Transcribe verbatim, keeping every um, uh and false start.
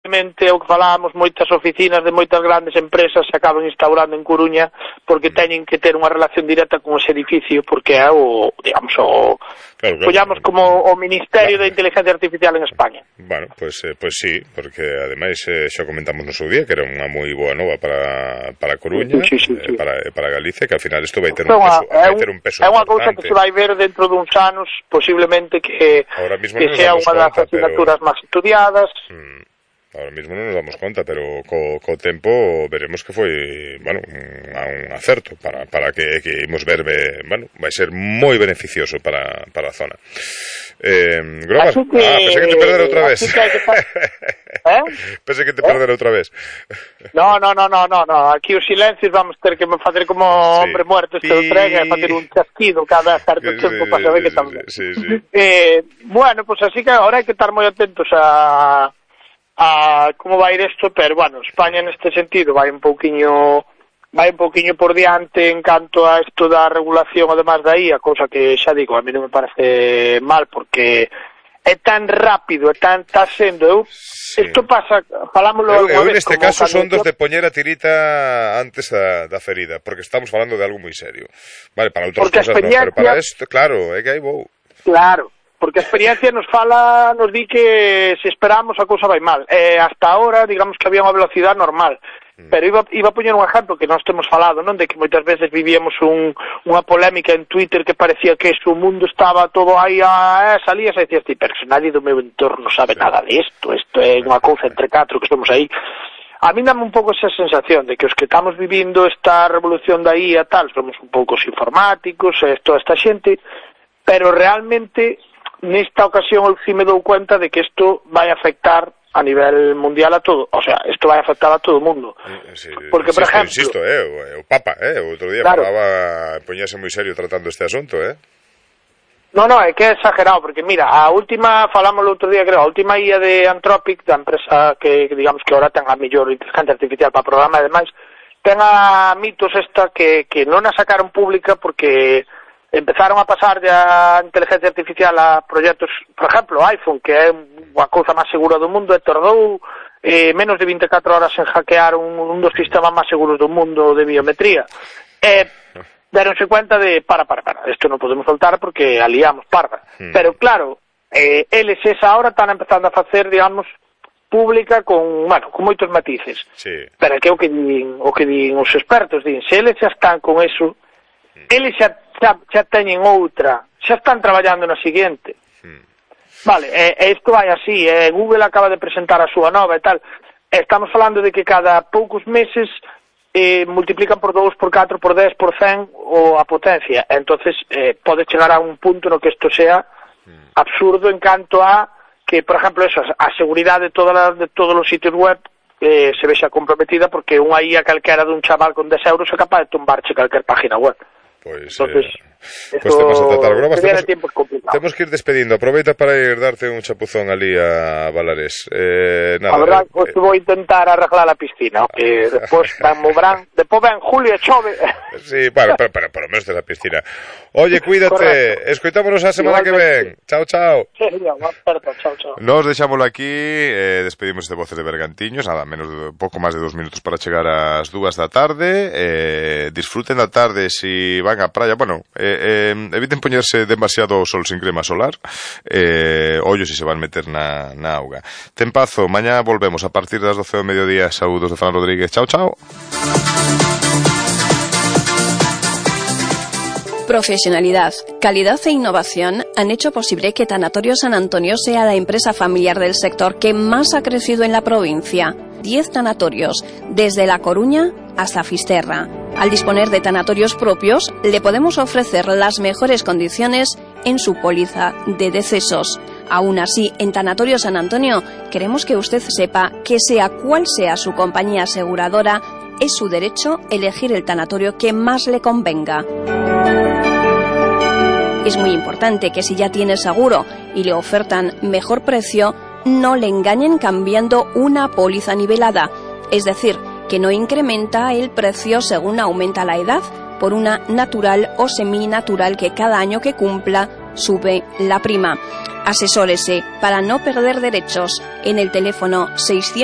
o que falábamos, moitas oficinas de moitas grandes empresas se acaban instaurando en Coruña porque teñen que ter unha relación directa con ese edificio, porque é o, digamos, o claro, claro, collamos como o Ministerio claro. de Inteligencia Artificial en España. Bueno, pues, eh, pues sí, porque ademais eh, xa comentamos no seu día que era unha moi boa nova para, para Coruña, sí, sí, sí, sí. Eh, para, para Galicia, que ao final isto vai ter un peso, vai ter un peso é unha cousa que se vai ver dentro duns anos, posiblemente que, que sea unha das asignaturas máis estudiadas. Hmm. Ahora mismo non nos damos conta, pero co, co tempo veremos que foi, bueno, un, un acerto para, para que, que imos ver, bueno, vai ser moi beneficioso para, para a zona. Eh, Grobas, que, ah, pensé que te perdera outra vez. Que que pa... eh? Pensé que te ¿Eh? perdera outra vez. No, no, no, no, no, no, aquí os silencios vamos ter que facer como sí. hombre muerto este sí. entrega e facer un chasquido cada certo tempo sí, para saber sí, que estamos. Sí, sí. Eh, bueno, pues así que ahora hai que estar moi atentos a a como vai ir isto, pero bueno, España neste sentido vai un pouquiño vai un pouquiño por diante en canto a isto da regulación además da I A, cousa que xa digo, a mí non me parece mal porque é tan rápido, é tan está sendo eu, sí. isto pasa, falámoslo eu, eu neste caso son dos de poñer a tirita antes da, da ferida, porque estamos falando de algo moi serio, vale, para outras cosas non, pero para isto, claro, é que aí vou. Claro, porque a experiencia nos fala, nos di que se esperamos a cousa vai mal. Eh, hasta ahora, digamos que había unha velocidade normal. Mm. Pero iba, iba a poñer un exemplo que nós temos falado, non? De que moitas veces vivíamos un, unha polémica en Twitter que parecía que o mundo estaba todo aí a... Eh, salías e decías, pero se nadie do meu entorno sabe sí. nada de isto, isto é unha cousa entre catro que estamos aí. A mí dame un pouco esa sensación de que os que estamos vivindo esta revolución da I A tal, somos un pouco informáticos, eh, toda esta xente, pero realmente... Nesta ocasión eu sí me dou cuenta de que isto vai afectar a nivel mundial a todo, o sea, isto vai afectar a todo o mundo. Sí, porque, por insisto, exemplo... Insisto, eh, o Papa, eh, o outro día claro. falaba, poñase moi serio tratando este asunto, eh. No, no, é que é exagerado, porque mira, a última, falamos o outro día, creo, a última I A de Anthropic, da empresa que, digamos, que ahora ten a mellor inteligencia artificial para programa e demais, ten a Mitos esta que, que non a sacaron pública porque... empezaron a pasar a inteligencia artificial a proxectos, por exemplo, iPhone, que é a cousa máis segura do mundo, e tardou eh, menos de vinte e catro horas en hackear un, un dos sistemas máis seguros do mundo de biometría. E deronse cuenta de, para, para, para, isto non podemos soltar porque aliamos parda. Hmm. Pero claro, eh, eles esa hora están empezando a facer, digamos, pública con, bueno, con moitos matices. Sí. Pero que o que din, o que din os expertos, din, se eles xa están con eso, hmm. eles xa Xa, xa teñen outra, xa están traballando na seguinte. Hmm. Vale, e, e isto vai así, e Google acaba de presentar a súa nova e tal. E estamos falando de que cada poucos meses eh, multiplican por dous, por catro, por dez, por cen o a potencia. Entonces eh, pode chegar a un punto no que isto sea hmm. absurdo en canto a que, por exemplo, eso, a seguridade de, toda la, de todos os sitios web eh, se vexa comprometida porque unha I A calquera dun chaval con dez euros é capaz de tumbarche calquer página web. Pois, entonces, eh, pues temas a tratar. Grobas, temos, temos que ir despedindo. Aproveita para ir darte un chapuzón ali a Valares. Eh, nada, a verdad, eh, pues, eh, vou intentar arreglar a piscina, que despois van mobrán, despois ven julio e chove. Sí, bueno, pero, pero por lo menos de la piscina. Oye, cuídate. Escoitámonos a semana que ven. Chao, chao. Sí, ya, aperto, chao, chao. Nos deixámoslo aquí, eh, despedimos de Voces de Bergantiños, nada, menos de pouco máis de dos minutos para chegar ás dúas da tarde. Eh, disfruten da tarde si van á praia, bueno, eh, eh, eviten poñerse demasiado sol sin crema solar, eh, ollo si se van meter na, na auga. Tempazo, mañá volvemos a partir das doce do mediodía. Saúdos de Fran Rodríguez, chao, chao. Profesionalidad, calidad e innovación han hecho posible que Tanatorio San Antonio sea la empresa familiar del sector que más ha crecido en la provincia. Diez tanatorios, desde La Coruña hasta Fisterra. Al disponer de tanatorios propios, le podemos ofrecer las mejores condiciones en su póliza de decesos. Aún así, en Tanatorio San Antonio, queremos que usted sepa que sea cual sea su compañía aseguradora, es su derecho elegir el tanatorio que más le convenga. Es muy importante que si ya tiene seguro y le ofertan mejor precio, no le engañen cambiando una póliza nivelada, es decir, que no incrementa el precio según aumenta la edad, por una natural o seminatural que cada año que cumpla sube la prima. Asesórese para no perder derechos en el teléfono seiscientos